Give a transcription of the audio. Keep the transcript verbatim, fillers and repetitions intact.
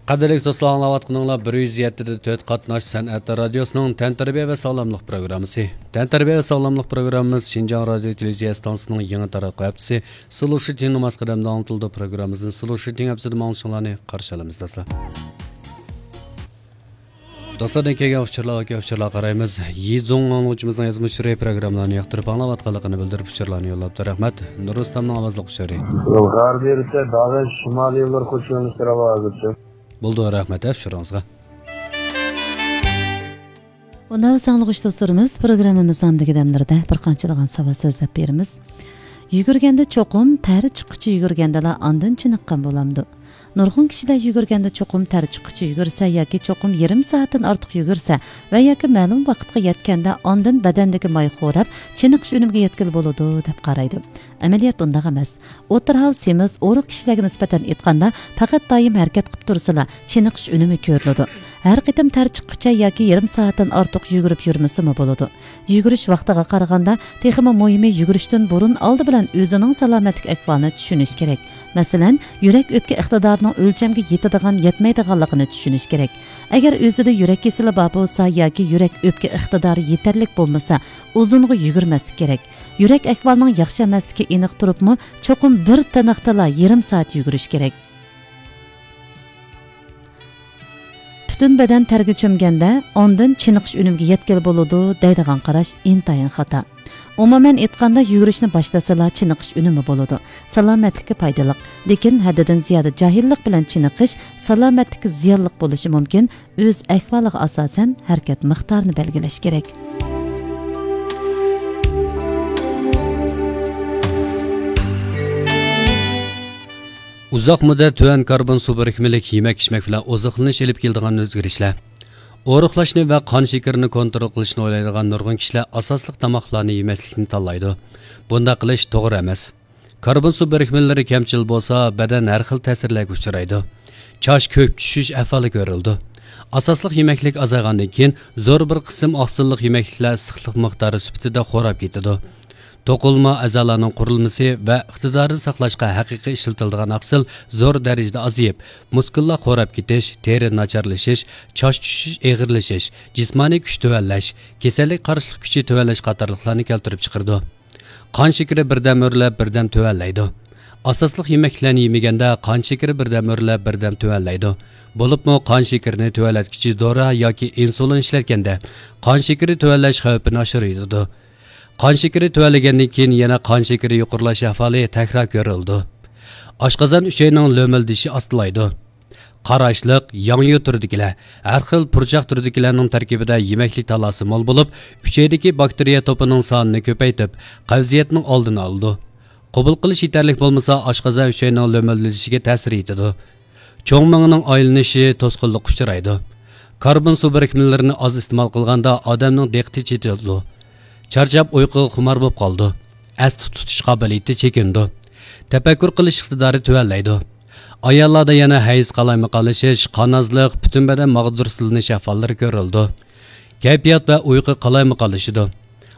قەدىرلىك دوستلار، ئاڭلاۋاتقىنىڭلار بىر يۈز يەتتە دە تۆت قاتناش سەنئەت رادىيوسىنىڭ تەنتەربىيە ۋە ساغلاملىق پروگراممىسى. تەنتەربىيە ۋە ساغلاملىق پروگراممىمىز شىنجاڭ رادىيو تېلېۋىزىيە ئىستانسىسىنىڭ يېڭى تاراتقۇ ھەپتىسى سلۇشىتىڭ ناماز قەدەمدە ئاڭلىتىلىدۇ پروگراممىسىنى سلۇشىتىڭ ھەپتىسىدە ئاڭلىشىڭلارنى قارشى ئالىمىز، دوستلار. دوستلاردىن كەلگەن ئۇچۇرلارغا، ئۇچۇرلارغا قارايمىز. يىزۇڭ ئاڭلىغۇچىمىزنىڭ يازما ئۇچۇرى پروگراممىلارنى ياقتۇرۇپ ئاڭلاۋاتقانلىقىنى بىلدۈرۈپ ئۇچۇرلارنى يوللاپتۇ. رەھمەت. نۇرۇستامنىڭ ئاۋازلىق ئۇچۇرى. غەربىي رۇسىيە داغىش شىمالىي يوللار قوشۇنىنى سىراۋا ھازىرچە. بولدى، رەھمەت ئۇچۇرىڭىزغا. ئۇنداق بولسا ئاڭلىغۇچى دوستلىرىمىز، پروگراممىمىزنىڭ ئەمدىكى دەملىرىدە بىر قانچىلىغان ساۋات سۆزلەپ بېرىمىز. يۈگۈرگەندە چوقۇم تەر چىققۇچە يۈگۈرگەندىلا ئاندىن چېنىققان بولامدۇ؟ نۇرغۇن كىشىلەر يۈگۈرگەندە چوقۇم تەر چىققۇچە يۈگۈرسە ياكى چوقۇم يېرىم سائەتتىن ئارتۇق يۈگۈرسە ۋە ياكى مەلۇم ۋاقىتقا يەتكەندە ئاندىن بەدەندىكى ماي خوراپ، چېنىقىش ئۈنۈمىگە يەتكىلى بولىدۇ، دەپ قارايدۇ. ئەمەلىيەتتە ئۇنداق ئەمەس. ئوتتۇرا ھال سېمىز، ئورۇق كىشىلەرگە نىسبەتەن ئېيتقاندا، پەقەت دائىم ھەرىكەت قىلىپ تۇرسىلا، چېنىقىش ئۈنۈمى كۆرۈلىدۇ. ھەر قېتىم تەر چىققۇچە ياكى يېرىم سائەتتىن ئارتۇق يۈگۈرۈپ يۈرمىسىمۇ بولىدۇ. يۈگۈرۈش ۋاقتىغا قارىغاندا، تېخىمۇ مۇھىمى يۈگۈرۈشتىن بۇرۇن ئالدى بىلەن ئۆزىنىڭ سالامەتلىك ئەھۋالىنى چۈشىنىش كېرەك. مەسىلەن، يۈرەك ئۆپكە ئىقتىدارىنىڭ ئۆلچەمگە يېتىدىغان، يەتمەيدىغانلىقىنى چۈشىنىش كېرەك. ئەگەر ئۆزىدە يۈرەك كېسىلى بار بولسا ياكى يۈرەك ئۆپكە ئىقتىدارى يېتەرلىك بولمىسا، ئۇزۇنغا يۈگۈرمەسلىك كېرەك. يۈرەك ئەھۋالىنىڭ ياخشى ئەمەسلىكى ئېنىق تۇرۇپمۇ، چوقۇم بىر تىنىقتىلا يېرىم سائەت يۈگۈرۈش كېرەك. پۈتۈن بەدەن تەرگە چۆمگەندە، ئاندىن چېنىقىش ئۈنۈمىگە يەتكىلى بولىدۇ، دەيدىغان قاراش ئىنتايىن خاتا. ئومۇمەن ئېيتقاندا، يۈگۈرۈشنى باشلىسىلا، چېنىقىش ئۈنۈمى بولىدۇ. سالامەتلىككە پايدىلىق. لېكىن ھەددىدىن زىيادە جاھىللىق بىلەن چېنىقىش سالامەتلىككە زىيانلىق بولۇشى مۇمكىن. ئۆز ئەھۋالىغا ئاساسەن ھەرىكەت مىقدارىنى بەلگىلەش كېرەك. ئۇزاق مۇددەت تۆۋەن كاربون سۇ بىرىكمىلىك يېمەك-ئىچمەك بىلەن ئوزۇقلىنىش ئېلىپ كېلىدىغان ئۆزگىرىشلەر. ئورۇقلاشنى ۋە قان شېكىرىنى كونترول قىلىشنى ئويلايدىغان نۇرغۇن كىشىلەر ئاساسلىق تاماقلارنى يېمەسلىكنى تاللايدۇ. بۇنداق قىلىش توغرا ئەمەس. كاربون سۇ بىرىكمىلىرى كەمچىل بولسا، بەدەن ھەر خىل تەسىرلەرگە ئۇچرايدۇ. چاچ كۆك چۈشۈش ئەھۋالى كۆرۈلىدۇ. ئاساسلىق يېمەكلىك ئازايغاندىن كېيىن، زور بىر قىسىم ئاقسىللىق يېمەكلىكلەر ئىسسىقلىق مىقدارى سۈپىتىدە خوراپ كېتىدۇ. توقۇلما ئەزالارنىڭ قۇرۇلمىسى ۋە ئىقتىدارىنى ساقلاشقا ھەقىقىي ئىشلىتىلىدىغان ئاقسىل زور دەرىجىدە ئازىيىپ، مۇسكۇللار خوراپ كېتىش، تېرە ناچارلىشىش، چاچ چۈشۈش ئېغىرلىشىش، جىسمانىي كۈچ تۆۋەنلەش، كېسەللىك قارشىلىق كۈچى تۆۋەنلەش قاتارلىقلارنى كەلتۈرۈپ چىقىرىدۇ. قان شېكىرى بىردەم ئۆرلەپ، بىردەم تۆۋەنلەيدۇ. ئاساسلىق يېمەكلىكلەرنى يېمىگەندە قان شېكىرى بىردەم ئۆرلەپ، بىردەم تۆۋەنلەيدۇ. بولۇپمۇ قان شېكىرىنى تۆۋەنلەتكۈچى دورا ياكى ئىنسۇلىن ئىشلەتكەندە قان شېكىرى تۆۋەنلەش خەۋپىنى ئاشۇرۇۋېتىدۇ. قان شېكىرى تۆۋەنلىگەندىن كېيىن يەنە قان شېكىرى يۇقىرىلاش ئەھۋالى تەكرار كۆرۈلىدۇ. ئاشقازان ئۈچەينىڭ لۆمۈلدىشى ئاستىلايدۇ. قاراشلىق، ياڭيۇ تۈرىدىكىلەر، ھەر خىل پۇرچاق تۈرىدىكىلەرنىڭ تەركىبىدە يېمەكلىك تالاسى مول بولۇپ، ئۈچەيدىكى باكتېرىيە توپىنىڭ سانىنى كۆپەيتىپ، قەۋزىيەتنىڭ ئالدىنى ئالىدۇ. قوبۇل قىلىش يېتەرلىك بولمىسا، ئاشقازان ئۈچەينىڭ لۆمۈلدىشىگە تەسىر يېتىدۇ. چوڭ مېڭىنىڭ ئايلىنىشى توسقۇنلۇققا ئۇچرايدۇ. كاربون سۇ بىرىكمىلىرىنى ئاز ئىستېمال قىلغاندا ئادەمنىڭ دىققىتى چېچىلىدۇ. چارچاپ ئۇيقۇغا خۇمار بولۇپ قالىدۇ. ئەستە تۇتۇش قابىلىيىتى چېكىنىدۇ. تەپەككۇر قىلىش ئىقتىدارى تۆۋەنلەيدۇ. ئاياللاردا يەنە ھەيز قالايمىقانلىشىش، قان ئازلىق، پۈتۈن بەدەن ماغدۇرسىزلىنىش ئەھۋاللىرى كۆرۈلىدۇ. كەيپىيات ۋە ئۇيقۇ قالايمىقانلىشىدۇ.